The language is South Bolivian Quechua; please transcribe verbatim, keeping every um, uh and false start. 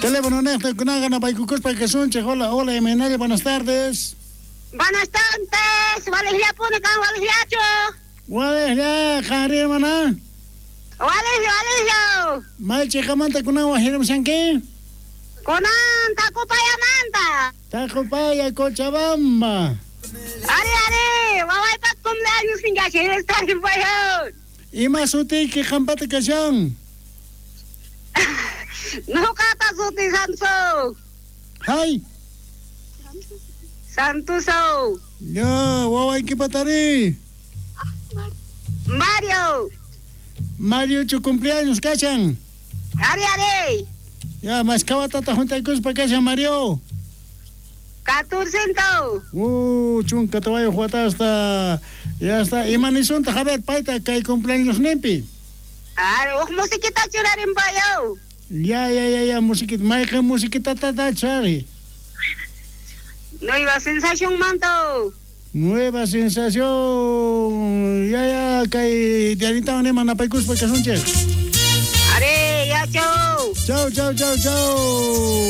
Teléfono nejta kunaqa napaykukuspa kasunchej. Hola, hola, imaynalla, buenas tardes. Buenas tardes, walejllapuni kan walejllachu. Walejlla, qanri hermana. Walejlla, walejlla. May chiqamanta kunan wajiramushanki? Kunan Tacopayamanta. Tacopaya, Cochabamba. Ari, ari, wawaypa cumpleaños kashan, está Ima sutiyki qampata kashan? Nuqata suti Santo. Hay. Santuso. Ya, wawaykipatari. Mario. Mario chu cumpleaños kashan. Ari, ari. Ya, mashkawatata juntaykuspa kashan Mario. Catorcento. Uh, chunka tawayuq watasta. Ya está. Ima nisunta, Javier, payta kay cumpleaños nimpi. Ari, uj musiquita churarinpayo. Ya, ya, ya, ya, musiquita. Mayqin musiquita chari. Nueva sensación manto. Nueva sensación. Ya, ya, kay dianita nima napaykuspa kasunchik. Ari, ya, chau. Chau, chau, chau, chau.